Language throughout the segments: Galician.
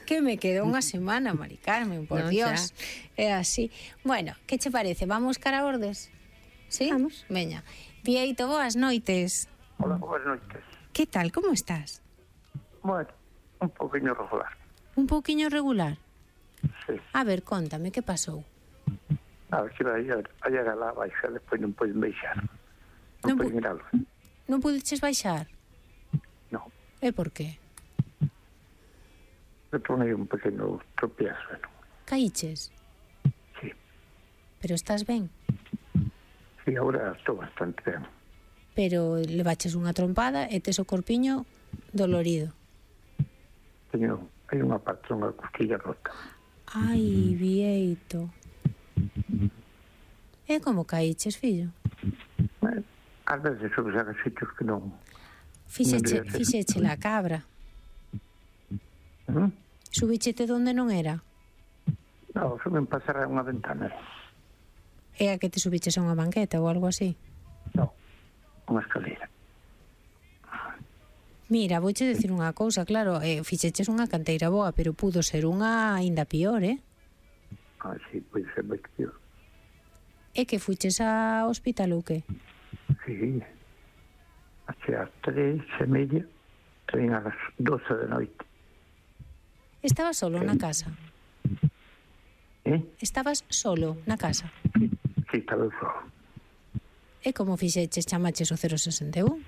Que me quedou unha semana, Mari Carmen, por Non, Dios. É así. Bueno, que che parece? Vamos cara a Ordes? Sí? Vamos. Veña. Vieito, boas noites. Hola, buenas noches. Que tal, como estás? Bueno, un poquinho regular. Un pouquiño regular? Sí. A ver, contame, que pasou? A ver, que vai a lá baixar, despois non poden baixar. Non poden ir algo. Non pudeches baixar? Non. E por qué? Eu tornei un pequeno tropiezo, non? Caíches? Sí. Pero estás ben? Sí, agora estou bastante ben. Pero levaches unha trompada e tes o corpiño dolorido. Hai unha parte dunha costilla rota. Ai, Vieito. E como caíches, fillo? Bueno, ás veces subes a sitios que non... Fixeche la cabra. Subichete donde non era? Non, suben pasar a unha ventana. É a que te subiches a unha banqueta ou algo así? Non, unha escalera. Mira, vouche decir unha cousa, claro, fixeches unha canteira boa, pero pudo ser unha aínda pior, Ah, sí, pode ser moi pior. É que fuches ao hospital ou que? Sí. Hace as 3:30, ven a las 12 da noite. Estabas solo na casa? Estabas solo na casa? Sí, estaba solo. E como fixeches, chamaches o 061?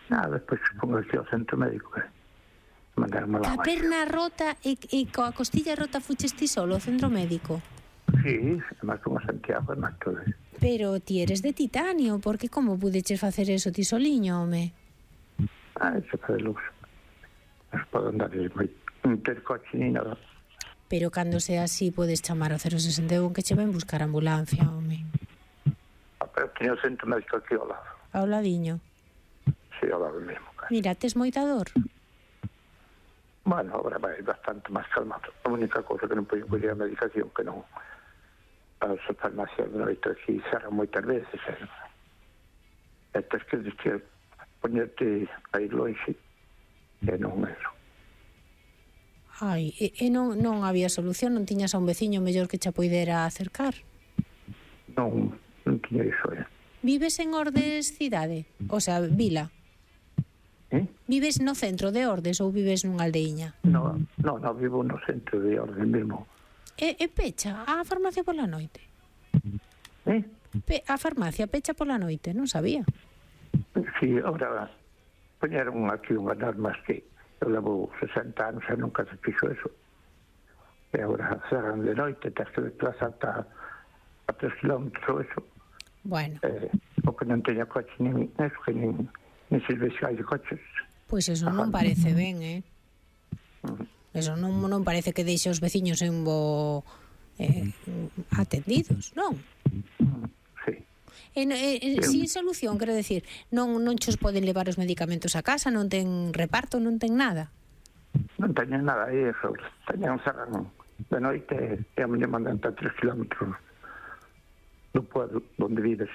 Nada, despois pongo aquí ao centro médico que mandaron lá. A perna rota e coa costilla rota fuches ti solo ao centro médico? Sí, además con a Santiago e máis todo. Pero ti eres de titanio, porque como pudeches facer eso ti soliño, home? Ah, eso fue de luz. Non podo andar non ter coche ni nada. Pero cando sea así podes chamar ao 061 que che ven buscar ambulancia, home. Pero teño o centro médico aquí ao lado. Ao ladiño. Sí, ao lado mesmo. Mira, tes moita dor? Bueno, agora vai bastante máis calmado. A única cousa que non podo coller a medicación que non... As farmacias de noite aquí cerran moitas veces. E tens que ponerte a ir longe. E non eso. Ai, e non había solución? Non tiñas a un veciño mellor que che poidera acercar? Non tiña iso, Vives en Ordes cidade? O sea, vila? Vives no centro de Ordes ou vives nunha aldeiña? Non, vivo no centro de Ordes mesmo. E pecha a farmacia pola noite? A farmacia pecha pola noite, non sabía. Sí, ahora poñeron aquí unhas normas que eu levo 60 anos e nunca se fixo eso. E agora cerran de noite, tens que desplazarte a 3 kilómetros eso. Bueno. O que non teña coche nin eso, que nin serviciais de coches. Pois eso non parece ben, Eso non parece que deixe os veciños en bo atendidos, non? Sí. Sin solución, quero decir, non chos poden levar os medicamentos a casa, non ten reparto, non ten nada. Non teñen nada aí, eso. Teñen cerran de noite e a miña mandan a 3 kilómetros do pueblo onde vives.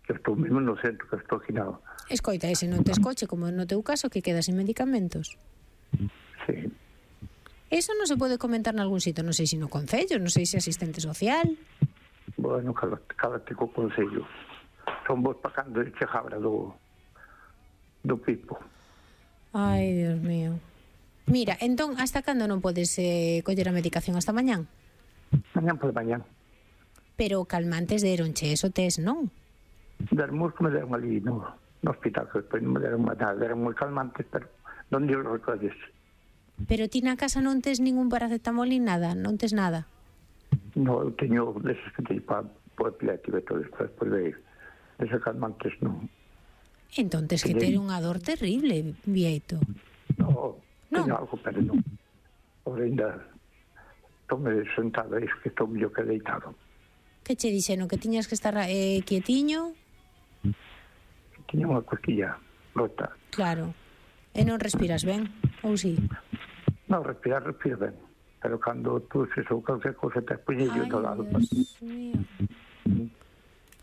Que estou mesmo no centro, que estou aquí nada. Escoita, ese non tes coche, como no teu caso, que quedas sin medicamentos. Sí. Eso non se pode comentar nalgún sitio, non sei se no concello, non sei se asistente social. Bueno, cállate co concello. Son vos pa cando eche jabra do pipo. Ai, Dios mío. Mira, entón, hasta cando non podes coller a medicación? Hasta mañán? Mañán por mañán. Pero calmantes deronche, eso tes, non? Dermos que me deron ali no hospital, que despois non me deron nada, deron moi calmantes, pero non dio os recolles. Pero ti na casa non tes ningún paracetamol ni nada, non tes nada? No, eu teño deses que teño para o epilético e todo, despois de deses calmantes non. Entón tes que ter unha dor terrible, Vieito. No, teño algo, pero non. Por ainda estou-me sentado, é que estou mellor que deitado. Que che dixeron, que tiñas que estar quietiño? Tiña unha cosquilla rota. Claro. E non respiras ben, ou si? Non, respiro ben. Pero cando tuses ou calquer cosa te poñello do lado. Ai, Dios mío.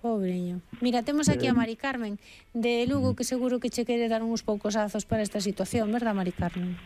Pobreño. Mira, temos aquí a Mari Carmen de Lugo, que seguro que che quere dar uns poucos azos para esta situación, verdad, Mari Carmen?